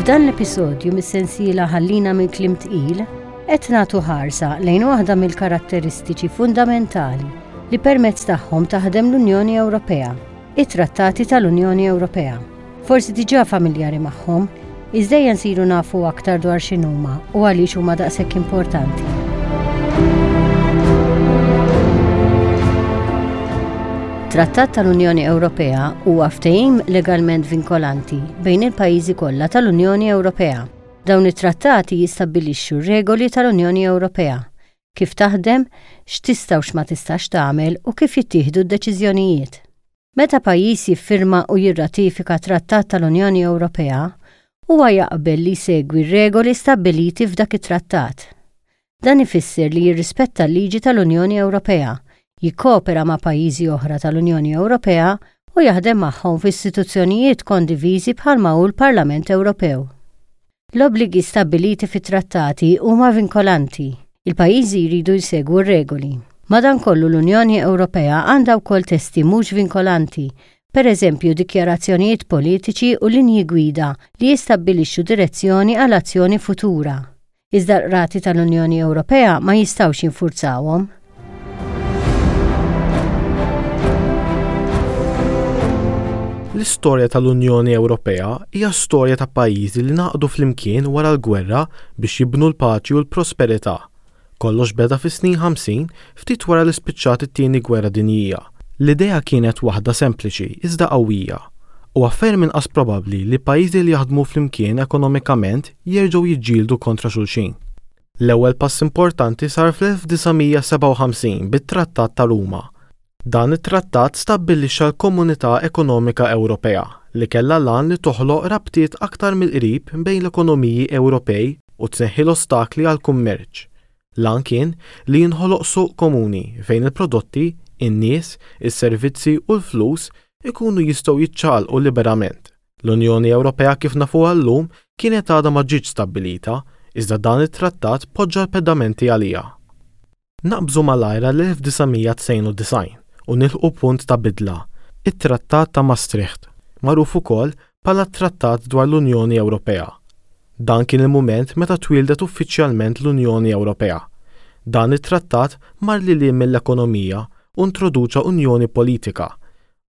F'dan l-episodju mis-sensiela Ħallina minn Kliem Tqil, qed nagħtu ħarsa lejn waħda mill-karatteristiċi fundamentali li permezz tagħhom taħdem l-Unjoni Ewropea, it-Trattati tal-Unjoni Ewropea. Forsi diġà familjari magħhom, iżda ejja nsiru nafu aktar dwar x'inhuma u għaliex huma daqshekk importanti. Trattat tal-Unjoni Ewropea huwa ftehim legalment vinkolanti bejn il-pajjiżi kollha tal-Unjoni Ewropea. Dawn it-trattati jistabbilixxu r-regoli tal-Unjoni Ewropea, kif taħdem, x'tista' u x'ma tistax tagħmel u kif jittieħdu d-deċiżjonijiet. Meta pajjiż jiffirma u jirratifika trattat tal-Unjoni Ewropea, huwa jaqbel li jsegwi r-regoli stabbiliti f'dak it-trattat. Dan ifisser li jirrispetta l-liġi tal-Unjoni Ewropea, jikkoopera ma' pajjiżi oħra tal-Unjoni Ewropea u jaħdem magħhom f'istituzzjonijiet kondiviżi bħalma hu l-Parlament Ewropew. L-obbligi stabbiliti fit-trattati huma vinkolanti. Il-pajjiżi jridu jsegwu r-regoli. Madankollu l-Unjoni Ewropea għandha wkoll testi mhux vinkolanti, pereżempju dikjarazzjonijiet politiċi u linji gwida li jistabbilixxu direzzjoni għal azzjoni futura. Iżda l-qrati tal-Unjoni Ewropea ma jistgħux jinfurzawhom. L-istorja tal-Unjoni Ewropea hija storja ta' pajjiżi li ngħaqdu flimkien wara l-gwerra biex jibnu l-paċi u l-prosperità. Kollox beda fis-snin 50, ftit wara li spiċċat it-Tieni Gwerra Dinjija. L-idea kienet waħda sempliċi iżda qawwija. Huwa ferm inqas probabbli li pajjiżi li jaħdmu flimkien ekonomikament jerġgħu jiġġieldu kontra xulxin. L-ewwel pass importanti sar fl-1957 bit-Trattat ta' Ruma. Dan it-trattat stabbilixxa l-Komunità Ekonomika Ewropea, li kellha l-għan li toħloq rabtiet aktar mill-qrib bejn l-ekonomiji Ewropej u tneħħi l-ostakli għall-kummerċ. L-għan kien li jinħoloq suq komuni fejn il-prodotti, in-nies, is-servizzi u l-flus ikunu jistgħu jiċċaqalqu liberament. L-Unjoni Ewropea kif nafuha llum kienet għadha ma ġietx stabbilita, iżda dan it-trattat poġġa l-pedamenti għaliha. Naqbżu malajr għall-1992 u nilħqu punt ta' bidla, it-Trattat ta' Maastricht, magħruf ukoll bħala t-Trattat dwar l-Unjoni Ewropea. Dan kien il-mument meta twieldet uffiċjalment l-Unjoni Ewropea. Dan it-trattat mar lil hinn mill-ekonomija u introduċa unjoni politika,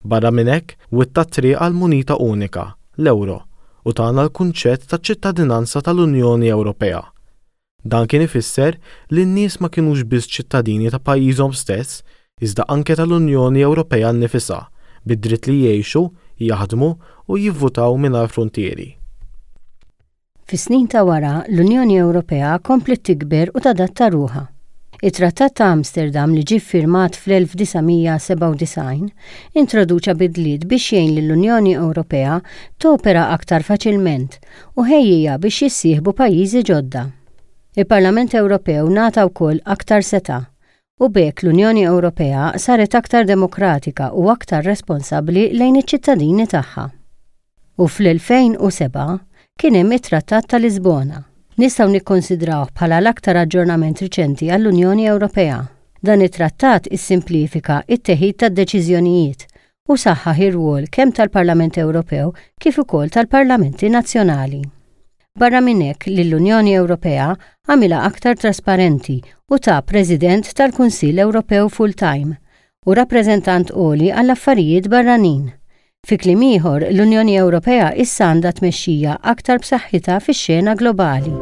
Barra minn hekk, witta t-triq għal munita unika, l-ewro, u tana l-kunċett ta' ċittadinanza tal-Unjoni Ewropea. Dan kien ifisser li n-nies ma kinux biss ċittadini ta' pajjiżhom stess, iżda anke tal-Unjoni Ewropea nnifisha, bid-dritt li jgħixu, jaħdmu u jivvutaw mingħajr fruntieri. Fis-snin ta' wara, l-Unjoni Ewropea kompliet tikber u tadatta ruħha. It-Trattat ta' Amsterdam li ġie ffirmat fl-1997 introduċa bidliet biex jgħin lill-Unjoni Ewropea topera aktar faċilment u ħejjiha biex jissieħbu pajjiżi ġodda. Il-Parlament Ewropew ngħata wkoll aktar setgħa u b'hekk l-Unjoni Ewropea saret aktar demokratika u aktar responsabbli lejn iċ-ċittadini tagħha. U fl-2007 kien hemm it-Trattat ta' Lisbona. Nistgħu nikkonsidrawh bħala l-aktar aġġornament riċenti għall-Unjoni Ewropea. Dan it-trattat issimplifika t-teħid tad-deċiżjonijiet u saħħaħ ir-rwol kemm tal-Parlament Ewropew kif ukoll tal-parlamenti nazzjonali. Barra minn hekk lill-Unjoni Ewropea għamilha aktar trasparenti u ta President tal-Kunsill Ewropew full-time u Rappreżentant Għoli għall-Affarijiet Barranin. Fi kliem ieħor, l-Unjoni Ewropea issa għandha tmexxija aktar b'saħħitha fix-xena globali.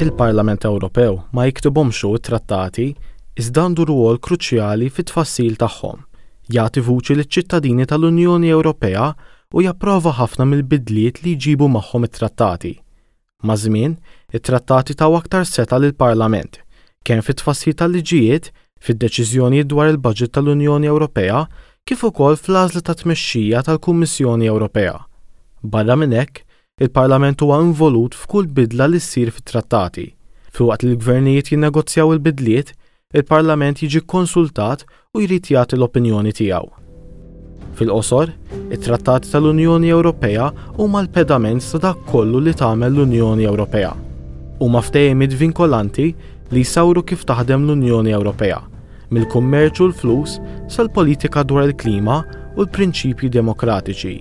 Il-Parlament Ewropew ma jiktibhomx hu t-trattati, iżda għandu rwol kruċjali fit-tfassil tagħhom, jagħti vuċi liċ-ċittadini tal-Unjoni Ewropea u japprova ħafna mill-bidliet li jġibu magħhom it-trattati. Maż-żmien, it-trattati taw aktar setgħa lill-Parlament, kemm fit-tfassil tal-liġijiet, fid-deċiżjonijiet dwar il-baġit tal-Unjoni Ewropea, kif ukoll fl-għażla tat-tmexxija tal-Kummissjoni Ewropea. Barra minn hekk, il-Parlament huwa involut f'kull bidla li ssir fit-trattati. Filwaqt li l-gvernijiet jinnegozjaw il-bidliet, il-Parlament jiġi kkonsultat u jrid jagħti l-opinjoni tiegħu. Fil-qosor, it-Trattati tal-Unjoni Ewropea huma l-pedament ta' dak kollu li tagħmel l-Unjoni Ewropea. Huma ftehimiet vinkolanti li jsawru kif taħdem l-Unjoni Ewropea, mill-kummerċ u l-flus sal-politika dwar il-klima u l-prinċipji demokratiċi.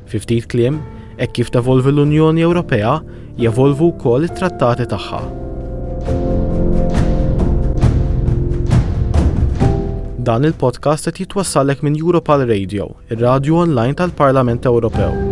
Fi ftit kliem, hekk kif tevolvi l-Unjoni Ewropea, jevolvu wkoll it-trattati tagħha. Dan il-podcast qed jitwassallek minn Europal Radio, ir-radju online tal-Parlament Ewropew.